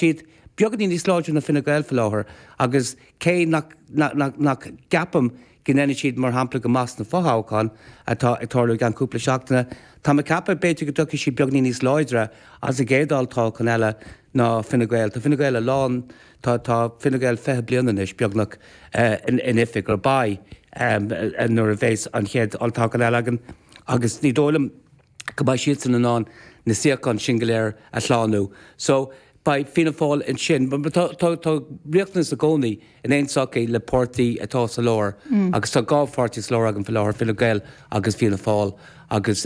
siad beagáinín níos láidre ná Fine Gael faoi láthair agus cé nach nach gceapaim go ndéanfaidh siad mar shampla go maith sna fothoghcháin atá ag tarlú i gceann cúpla seachtaine, tá mé ag ceapadh b'fhéidir go dtiocfaidh siad beagáinín níos láidre as an gcéad olltoghchán eile ná Fine Gael. Tá Fine Gael a lán, tá tá Fine Gael 20 bliain anois beagnach in oifig, or beidh nuair a bheas an chéad olltoghchán eile againn agus ní dóigh liom go mbeidh siadsan in ann na suíocháin sin go léir a shlánú. So, beidh Fianna Fáil ansin. Tá tá riachtanas i gcónaí in aon tsochaí le páirtí atá sa lár agus tá dhá pháirtí sa lár againn faoi láthair, Fine Gael agus Fianna Fáil agus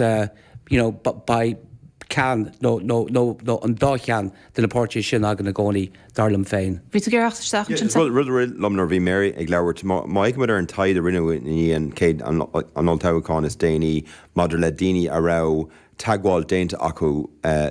you know beidh ceann nó nó nó nó an dá cheann de na páirtithe sin againn i gcónaí, dar liom féin. Bhí tú ag iarraidh teacht isteach ansin. Rud rud a rith liom nuair a bhí Mary ag labhairt, má má fhéachaimid ar an taighde a rinneadh i ndiaidh an chéad an an olltoghchán is déanaí maidir le daoine a raibh teagmháil déanta acu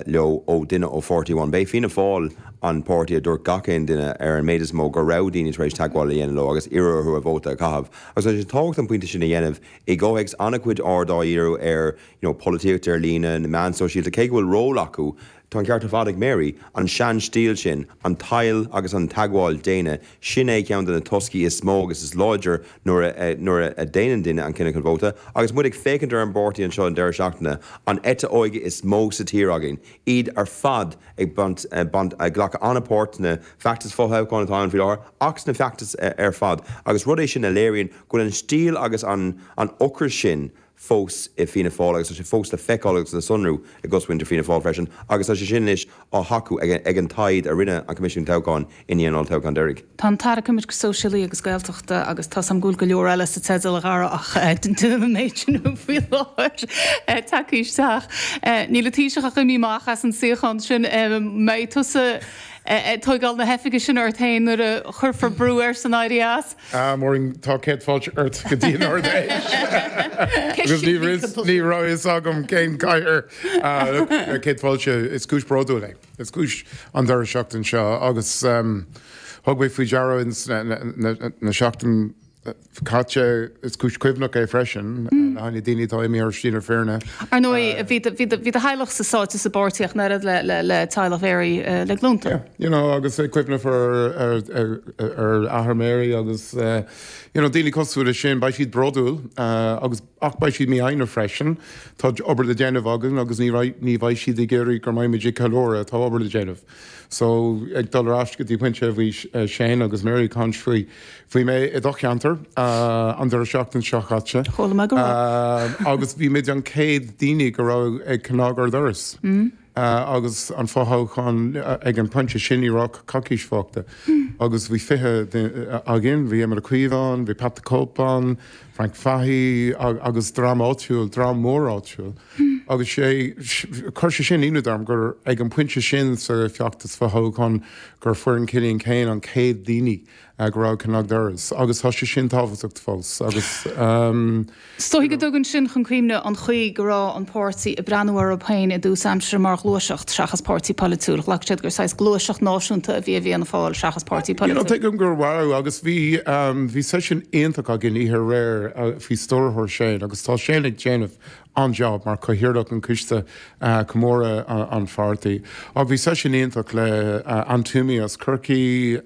leo ó duine ó pháirtí amháin. B'é Fianna Fáil an páirtí a dúirt gach aon duine ar an méid is mó go raibh daoine tar éis teagmháil a dhéanamh leo agus iarraidh orthu a vóta a chaitheamh. Agus tá sé tábhachtach an pointe sin a dhéanamh i gcomhthéacs an-chuid aird á dhíriú ar you know polaitíocht ar líne, na meáin sóisialta, cé go bhfuil ról acu, Tá an ceart ar fad ag Mary. An sean-stíl sin, an tadhall agus an teagmháil daonna, sin é ceann de na toscaí is mó agus is láidre nuair a nuair a déanann duine an cinneadh chun vóta. Agus muid ag féachaint ar an bpáirtí anseo an deireadh seachtaine, an eite óige is mó sa tír againn, iad ar fad ag baint baint ag glacadh an-pháirt sna feachtais fothoghcháin atá ann faoi láthair ach sna feachtais ar fad. Agus rud é sin a léiríonn go bhfuil an stíl agus an an ocras sin fós i Fianna Fáil agus tá sé fós le feiceáil agus le sonrú i gcosmhuintir Fianna Fáil freisin agus tá sé sin anois á thacú ag an taighde a rinne an Coimisiún Toghcháin i ndiaidh an olltoghcháin deiridh. Tá an tAire Coimirce Sóisialaí agus Gaeltachta agus tá 's a'm go bhfuil go leor eile sa teideal a Dhara ach déanfaidh an méid sin faoi láthair tagtha isteach. Níl an Taoiseach ach imithe amach as an suíochán sin. Mbeidh tusa ag tóigeáil na hoifige sin ort féin nuair a chuirfear brú airsean éirí as? Ah, Maureen, tá céad fáilte ort go dtí an Ard-Fheis. Agus ní ní raibh fhios agam cén cathaoir. Céad fáilte, is cúis bródúil é. Is cúis an deireadh seachtain seo agus thug mé faoi deara ins na seachtain caite, is cúis cuimhneach é freisin le haghaidh na daoine atá imithe ar shlí na fírinne. Ar ndóigh, bhí do theaghlachsa sáite sa bpáirtí ach an oiread le teaghlach Mhary le glúnta. Yeah, you know, agus ag cuimhneamh ar ar athair Mary agus you know, daoine cosúil leis sin, beidh siad bródúil agus ach beidh siad mífhoighneach freisin. Tá obair le déanamh againn agus ní ní bheidh siad ag iarraidh go mbeidh muid ag ceiliúradh, tá obair le déanamh. So, ag dul ar ais go dtí pointe a bhí Shane agus Mary ag caint faoi, bhí mé i do cheantar an deireadh seachtain seo chaite. Chuala mé go raibh. Agus bhí muid an chéad daoine go raibh ag cnag ar doras. Agus an fothoghchán ag an pointe sin ní raibh ach coicís fágtha. Agus bhí 20 duine againn, bhí Éamon Ó Cuív ann, bhí Pat the Cope ann, Frank Fahey agus dream áitiúil, dream mór áitiúil. Agus sé, chuir sé sin ionadh orm gur ag an pointe sin sa feachtas fothoghcháin gur foireann Killian Keane an chéad daoine go raibh ag cnag doras. Agus tá sé sin tábhachtach fós. Agus. Is dóigh go dtugann sin chun cuimhne an chaoi go raibh an páirtí ag breathnú orthu féin i dtús aimsire mar ghluaiseacht seachas páirtí polaitiúil. Ghlac siad gur saghas gluaiseacht náisiúnta a bhí i bhFianna Fáil seachas páirtí You know, polaitiúil. tuigim go raibh agus bhí, bhí seisiún iontach againn oíche aréir faoi stiúrthóir Shane agus tá Shane ag déanamh an-jab mar chathaoirleach an coiste comóradh an pháirtí. Ach bhí seisiún iontach le Anne Twomey as Corcaigh,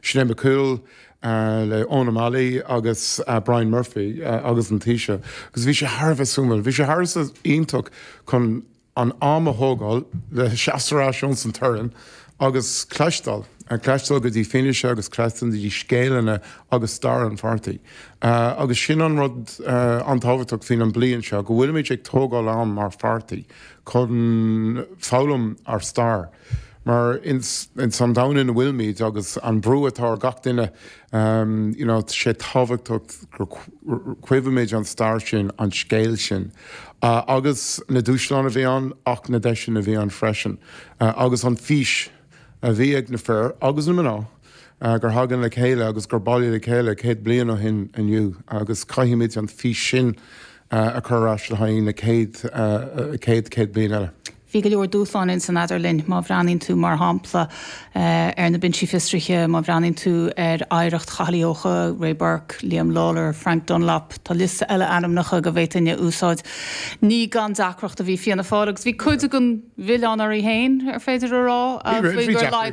Sinéad McCoole, le Eoin O'Malley agus Brian Murphy agus an Taoiseach agus bhí sé thar a bheith suimiúil. Bhí sé thar a bheith iontach chun an am a thógáil le seasamh ar ais ins an torann agus cloisteáil, cloisteáil go dtí fianaise agus cloisteáil go dtí scéileanna agus stair an pháirtí. Agus sin an rud an-tábhachtach faoin an bliain seo, go bhfuilimid ag tógáil am mar pháirtí chun foghlaim ár stair. Mar ins an domhan ina bhfuilimid agus an brú atá ar gach duine, you know, tá sé tábhachtach gur cuimhnímid an stair sin, an scéal sin agus na dúshláin a bhí ann ach na deiseanna a bhí ann freisin agus an fís a bhí ag na fir agus na mná gur thagann le chéile agus gur bailíodh le chéile 100 bliain ó shin inniu agus caithfimid an fís sin a chur ar ais le haghaidh na céad, céad, céad bliain eile. Bhí go leor dúshláin ins an eadarlinn, má bhreathnaíonn tú, mar shampla, ar na binsí fiosraithe, má bhreathnaíonn tú ar oidhreacht Chathail Uí Eocha, Ray Burke, Liam Lawlor, Frank Dunlop, tá liosta eile ainmneacha go bhféadfainn a úsáid. Ní gan deacracht a bhí Fianna Fáil agus bhí cuid den mhilleán orthu féin, ar féidir a rá, faoi gur laghdaigh an.